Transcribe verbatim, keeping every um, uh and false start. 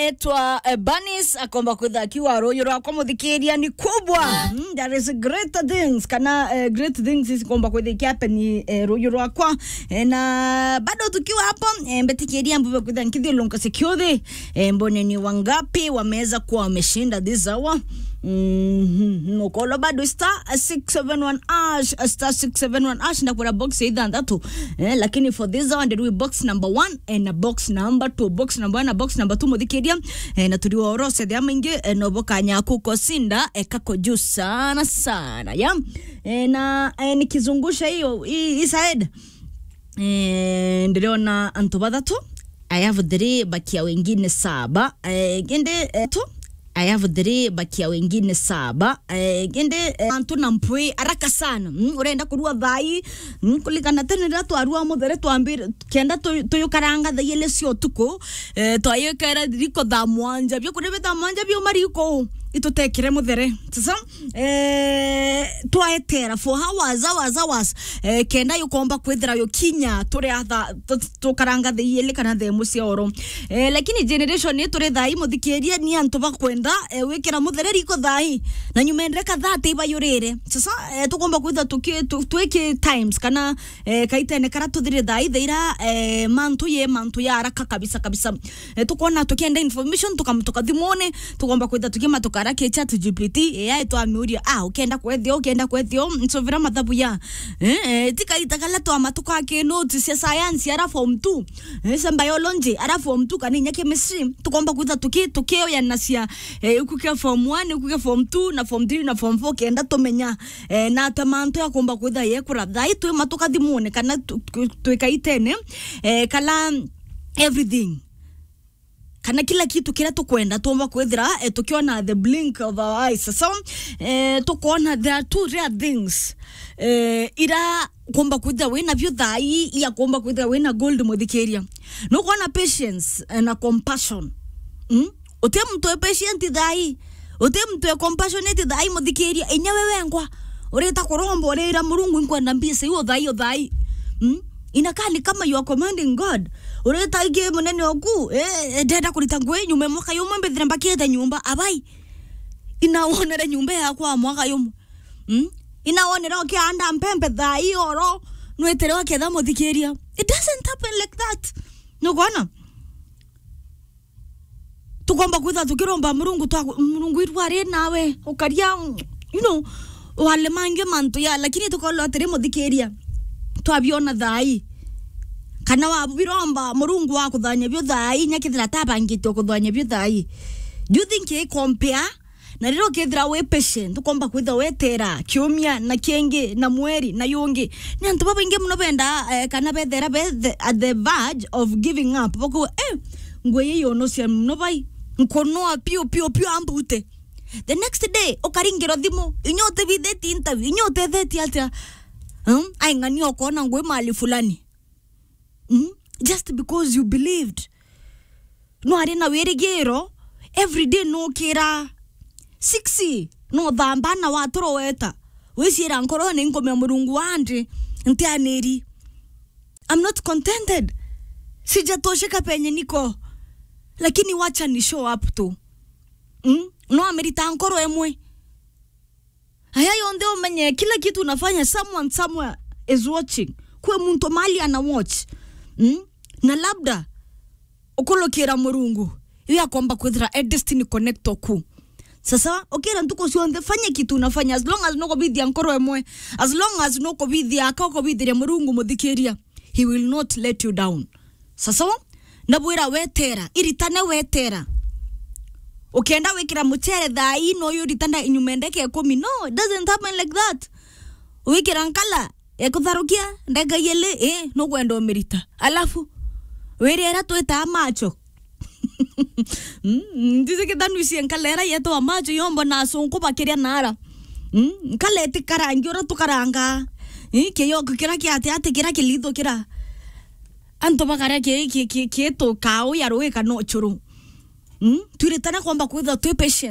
Etwa, eh, Banis, akomba kwitha akiwa ruyu rwakwa muthikiria ni kubwa. Mm, there is greater things, kana, eh, great things is komba kwitha ikiapeni, eh, ruyu rwakwa. Eh, na bado tukiwa hapo, eh, mbetikiria mbuve kwitha nkithiulunka security, eh, mbone ni wangapi wameweza kuwa wameshinda this hour. Mhm, mukolo bado star six seven one hash, star six seven one hash, na kuna box ya ithanthatu. Eh, lakini for this hour, ndirui box number one, eh, na box number two. Box number one na box number two, muthikiria, eh, na turi orose thia maingi, eh, no bokanya kukosinda, eh, kako juu sana sana, ya. Eh, na, eh, nikizungusha hiyo, hii, hii side, eh, ndiriona antu bathatu. I have three, bakia wengine saba. Eh, kindi, eh, tu, I have three, bakia wengine saba. Eh, kindi, eh, antu na mpwi haraka sana. Mm, urenda kurua thai. Mm, kulikana tene riria twarua muthere twambire, kenda tu-, tuyukaranga thaa igiri cia utuku, eh, twayikera riko thaa mwanja. Bia kuria bi thaa mwanja biuma riko, itutekire muthere. Sasa, eh, twaetera for hours, hours, hours, eh, kenda yukomba kwithira yukinya turi atha, tu-, tukaranga thaa igiri kana thaa imwe cia oro. Eh, lakini generation ii turi thai, muthikiria, ni antu bakwenda, eh, wikira muthere riko thai, na nyuma endere kathate ibayurire. Sasa, eh, tukomba kwithira tuki-, tu-, twiki times kana, eh, kaitene kara tuthire thai, thaira, eh, mantu ye, mantu ya haraka kabisa, kabisa. Eh, tukwona tukienda information, tukamatuka thimone, tukomba kwitha tukimatuka ara ki ChatGPT, A I twamiuria, ah, ukenda kwethio, ukenda kwethio, nsovera mathabu ya. Eh, eh, ti kaita kala twamatuka ki notes cia science ara form two, eh, cia biology ara form two, kana inya chemistry, tukomba kwitha tuki-, tukioyanacia, eh, iku kia form one, iku kia form two, na form three, na form four, kenda tumenya, eh, na ata mantu ya kumba kwitha yekura. Thai twi matuka thimone, kana tu-, tu-, twi kaitene, eh, kala everything, kana kila kitu kiria tukwenda, tuumba kwithira, eh, tukiona the blink of our eyes. So, eh, tukoona there are two rare things, eh, ira kumba kwithira wina bio thai, iya kumba kwithira wina gold, muthikiria. Nukwona patience, eh, na compassion. Mm? Uti muntu e patient thai, uti muntu e compassionate thai, muthikiria. Inya we wengwa, urita kuromba, urira Murungu, nkwenda mbia cia uthai, uthai. Mm? Inakaa ni kama you are commanding God. Urita ingi munene oku, eh, eh, ndenda kurita ngui nyuma mwaka yumwe mbithire mbakite nyumba, abai. Inawonere nyumba yakwa mwaka yumwe. Mm? Inawonere ukianda mpempe thai oro, nwitire uketha, muthikiria. It doesn't happen like that. Nukwona? Tukomba kwitha tukiromba Murungu twa, Murungu, irua ri nawe, ukaria, you know, walemange mantu ya, lakini tukolwa atiri, muthikiria, twabiona thai. Kana wabiromba Murungu wa kuthanya bio thai, nya kithira tabangite kuthanya bio thai. Do you think i compare? Na riria ukethira wi patient, ukomba kwitha wetera kiumia na kingi na mweri na yungi. Ni antu babaingi muno benda, eh, kana bethera be the, at the verge of giving up. Bakuga, eh, ngui ii yunucia muno bai. Nkunoa piu, piu, piu ambute. The next day, ukaringirwa thimu. Inya utebithitie interview, inya utethetie atia? Hmm? Ai, ng'ania ukona ngui mali fulani. Mm? Just because you believed. No ari na wirigiro, every day no kira six, no thamba na waturoweta. Wiciira nkorone nkumia Murungu wandi, ntianiri. I'm not contented. Sijatosheka penye niko. Lakini wacha ni show up tu. Mm? No amerita nkoro emwe. Aya yonthe umenye, kila kitu unafanya, someone somewhere is watching. Kwi muntu mali ana watch. Mm? Na labda ukulukira Murungu, iwe akomba kwithira a destiny connector ku. Sasa, ukira ntuku cionthe, fanya kitu unafanya, as long as nukubithia nkoro emwe, as long as nukubithia aka ukubithiria Murungu, muthikiria, he will not let you down. Sasa, ndabwira wetera, iritane wetera. Ukienda wikira mucere thaa ii, no uyu ritana inyuma ndeke ikumi. No, it doesn't happen like that. Wikira nkala, ekutharukia, ndeka yele, eh, nukwenda umirita. Alafu, wirira twitaa macho. Mm, ndize kithanu ici nkala ira yetwa macho, yombo na asunku bakiria nara. Mm, nkala itikarangi ura tukaranga. Eh, kiyoko kira kiate ate kira kilitho kira. Antu bakaria ki-, ki-, ki-, kitu kau ya rui kana uchuru. Mm? Twiritane kwamba kwithirwa twi patient.